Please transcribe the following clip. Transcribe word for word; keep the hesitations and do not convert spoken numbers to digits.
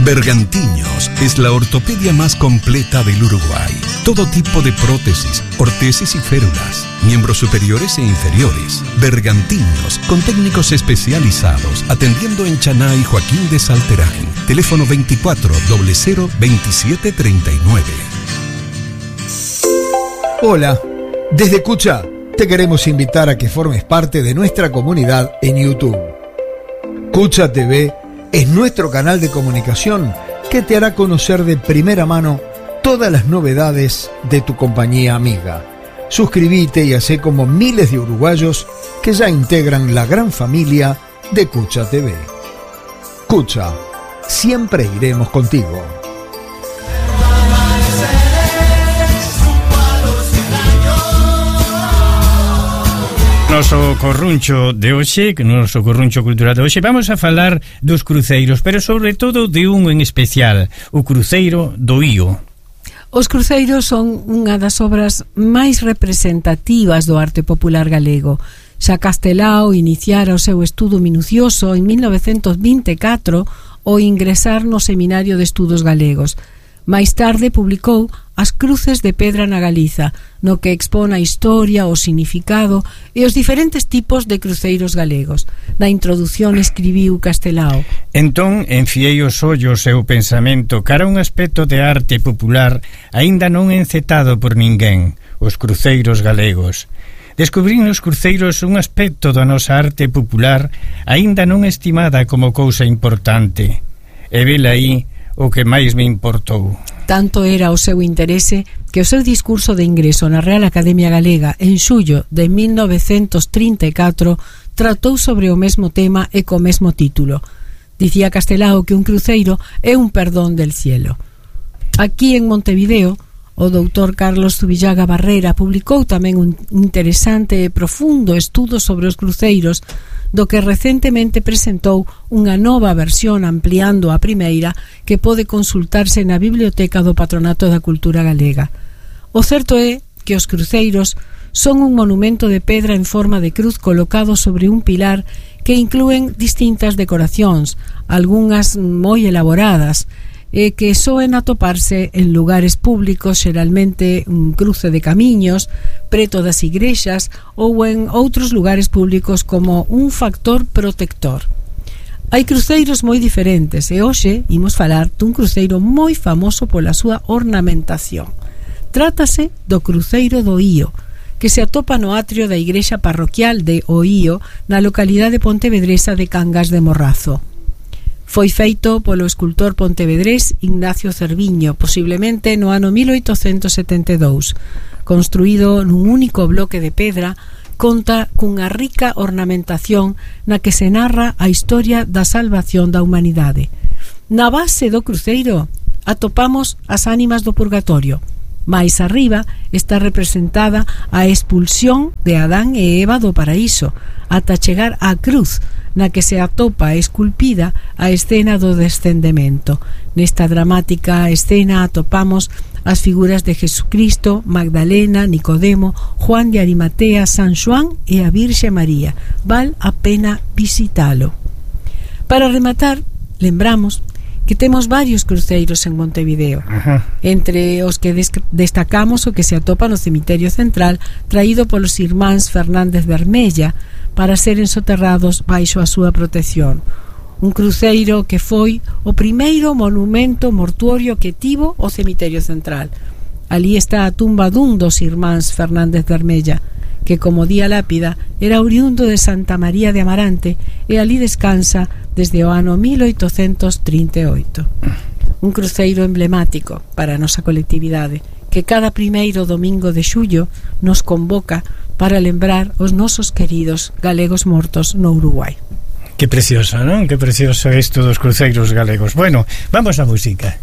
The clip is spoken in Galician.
Bergantiños es la ortopedia más completa del Uruguay. Todo tipo de prótesis, ortesis y férulas, miembros superiores e inferiores. Bergantiños, con técnicos especializados, atendiendo en Chaná y Joaquín de Salterain. Teléfono veinticuatro cero cero veintisiete treinta y nueve. Hola, desde Cucha te queremos invitar a que formes parte de nuestra comunidad en YouTube. Cucha T V es nuestro canal de comunicación que te hará conocer de primera mano todas las novedades de tu compañía amiga. Suscríbete y hacé como miles de uruguayos que ya integran la gran familia de Cucha T V. Cucha, siempre iremos contigo. Noso corruncho de hoxe, que noso corruncho cultural de hoxe, vamos a falar dos cruceiros, pero sobre todo de un en especial, o cruceiro do Ío. Os cruceiros son unha das obras máis representativas do arte popular galego. Xa Castelao iniciara o seu estudo minucioso en mil novecentos vinte e catro ao ingresar no Seminario de Estudos Galegos. Máis tarde publicou As cruces de pedra na Galiza, no que expón a historia, o significado e os diferentes tipos de cruceiros galegos. Na introdución escribiu Castelao: Entón, enfiei os ollos e o pensamento cara a un aspecto de arte popular aínda non encetado por ninguén, os cruceiros galegos. Descubrín nos cruceiros un aspecto da nosa arte popular aínda non estimada como cousa importante. E vela aí o que máis me importou. Tanto era o seu interese que o seu discurso de ingreso na Real Academia Galega en xullo de mil novecentos trinta e catro tratou sobre o mesmo tema e co mesmo título. Dicía Castelao que un cruceiro é un perdón del cielo. Aquí en Montevideo, o doutor Carlos Zubillaga Barrera publicou tamén un interesante e profundo estudo sobre os cruceiros, do que recentemente presentou unha nova versión ampliando a primeira que pode consultarse na Biblioteca do Patronato da Cultura Galega. O certo é que os cruceiros son un monumento de pedra en forma de cruz colocado sobre un pilar que inclúen distintas decoracións, algunhas moi elaboradas, e que soen atoparse en lugares públicos, xeralmente un cruce de camiños, preto das igrexas ou en outros lugares públicos como un factor protector. Hai cruceiros moi diferentes e hoxe imos falar dun cruceiro moi famoso pola súa ornamentación. Trátase do cruceiro do Ío, que se atopa no atrio da igrexa parroquial de O Ío na localidade pontevedresa de Cangas de Morrazo. Foi feito polo escultor pontevedrés Ignacio Cerviño, posiblemente no ano mil oitocentos setenta e dous. Construído nun único bloque de pedra, conta cunha rica ornamentación na que se narra a historia da salvación da humanidade. Na base do cruceiro atopamos as ánimas do purgatorio. Mais arriba está representada a expulsión de Adán e Eva do paraíso, ata chegar á cruz, na que se atopa esculpida a escena do descendemento. Nesta dramática escena atopamos as figuras de Jesucristo, Magdalena, Nicodemo, Juan de Arimatea, San Xoán e a Virxe María. Val a pena visitalo. Para rematar, lembramos que temos varios cruceiros en Montevideo. Ajá. Entre os que des- destacamos o que se atopa no cemiterio central, traído polos irmáns Fernández Bermella para seren soterrados baixo a súa protección. Un cruceiro que foi o primeiro monumento mortuorio que tivo o cemiterio central. Alí está a tumba dun dos irmáns Fernández Bermella, que, como di a lápida, era oriundo de Santa María de Amarante e ali descansa desde o ano mil oitocentos trinta e oito. Un cruceiro emblemático para a nosa colectividade, que cada primeiro domingo de xullo nos convoca para lembrar os nosos queridos galegos mortos no Uruguai. Que precioso, non? Que precioso isto dos cruceiros galegos. Bueno, vamos á música.